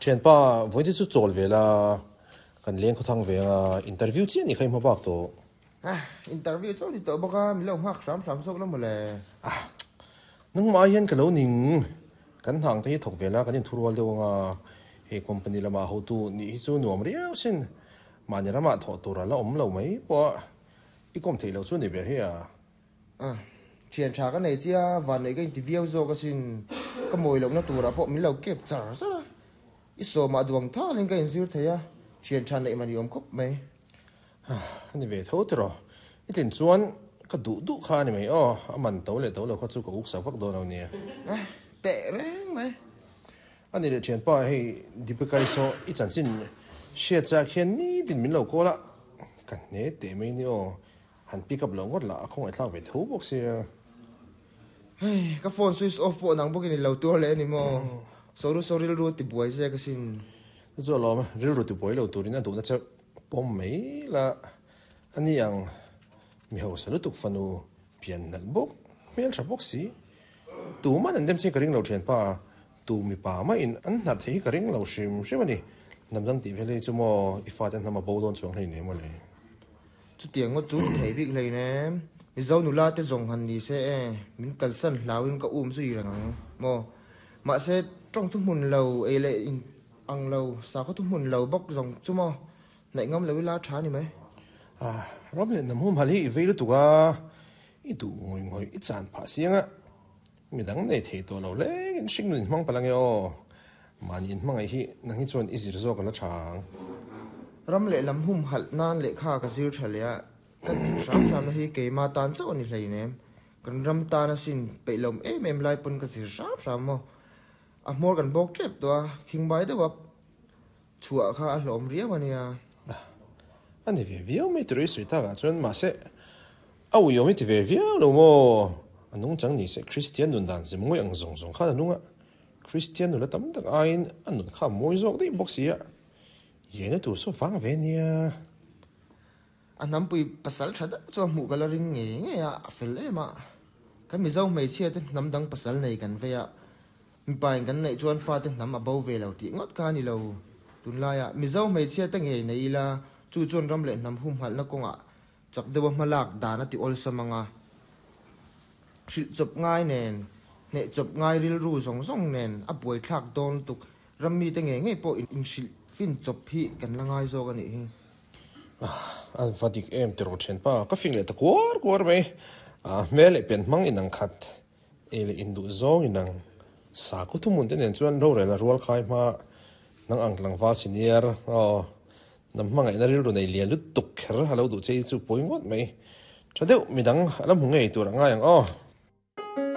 Thianpa, vawiin te chu chawl ve la, kan leng khawthang ve anga interview chiah ni kha i hma bak tawh. Ah, interview chauh ni tawh bawk a, min lo nghak hram hram zawk la mawle. Ah, nangmah hian ka lo ning. Kan hnang te hi thawk ve la, kan inthurual deuh anga he company lamah hotu nih hi chu nuam riau sin. Mahni ramah thawh tur a la awm lo mai pawh a, i kawm theih loh chu ni ber hi a. Ah, thian tha ka nei chia, vanneih ka inti viau zawk asin. Ka mawi lohna turah pawh min lo kep char char a. I sawmah duang thalin ka inzir thei a, thian tha neih mani awm khawp mai. Ah, a ni ve tho tiraw. I tlin chuan ka duh duh kha a ni mai aw, a man to leh to lo kha chu ka uk sak vak dawn lo nia. Ah, teh reng mai. A ni leh thianpa, hei Deepika i saw i chanchin hriat chak hian nitin min lo call a, ka hne teh mai ni aw. Han pick up lo ngawt lah a khawngaihthlak ve tho bawk sia. Hei, ka phone switch off pawh nang bawkin i lo tuar leh a ni maw? Soru saw rilru a tibuai zek asin. Chu chu alawm, rilru tibuai lo turin a duhna che pawm mai la. A ni ang, mi hausa lutuk fanu pian nalh bawk, hmeltha bawk si. Tuman an dem che ka ring lo thianpa, tu mipa mahin an hnarh theih hi ka ring lo hrim hrim a ni. Hnam dang tih vel hi chu maw i fate hnam a bo dawn chuang hleinem mawle. Chutiang ngawt chu ni thei bik hleinem. Mizo nula te zawng han ni se e, min kalsan hlauin ka um zui reng ang maw? Mahse, tawng thuhmun lo ei leh in ang lo, sakhaw thuhmun lo bawk zawng chu maw? Hnaih ngam lo ila tha ni mai. Ah, ram leh hnam humhal hi i vei lutuk a, i duh ngawih ngawih i chan phah siang a, midang nei thei tawh lo hlengin hringnun in hmang palh ange aw. Mahni in hmangaih hi nang hi chuan i zir zawk a la tha ang. Ram leh lam humhalh nan lehkha ka zir tha leh a, ka tih hram hramna hi keima tan chauh a ni hleinem. Kan ram tan asin peih lo em em lai pawn ka zir hram hram maw. A hmawr kan bawk tep tawh a, khingbai deuh a chhuah kha a hlawm riau a nia. A ni ve viau mai tiraw i sawi takah chuan mahse a uiawm i ti ve viau lo maw? A nungchang ni se Kristian nun dan zem ngawih ang zawng zawng khan a nung a, Kristian nula tam tak aiin a nun kha a mawi zawk daih bawk si a, iaina tur saw vang ve nia. A hnampui pasal tha deuh chuan hmuh ka la ring ngei ngei a, a fel em a. Kan Mizo hmeichhia te hnam dang pasal nei kan vei a, mipa in kan neih chuan fate hnam a bo ve lo tih ngawt kha a ni lo. Tunlaiah Mizo hmeichhia te ngei nei ila, chu chuan ram leh hnam humhalhna kawngah Chak deuha hmalak dan a ti awlsam ang a, hrilh chawp ngai nen, hneh chawp ngai rilru zawng zawng nen a buaithlak dawn lutuk. Ram mite ngei ngei pawh inhrilh fin chawp hi kan la ngai zawk a nih hi. A va dik em tiraw thianpa, ka fing leh ta kuar kuar mai. Hmel leh pian hmang inang khat, ei leh induh zawng inang. Sakhaw thuhmun te nen chuan rorel a rual khai hma nang ang tlangval senior aw. Hnam hmangaihna rilru nei lian lutuk kher a lo duh che hi chu pawi ngawt mai. Tha deuh midang a la hmu ngei tur a ngai ang aw.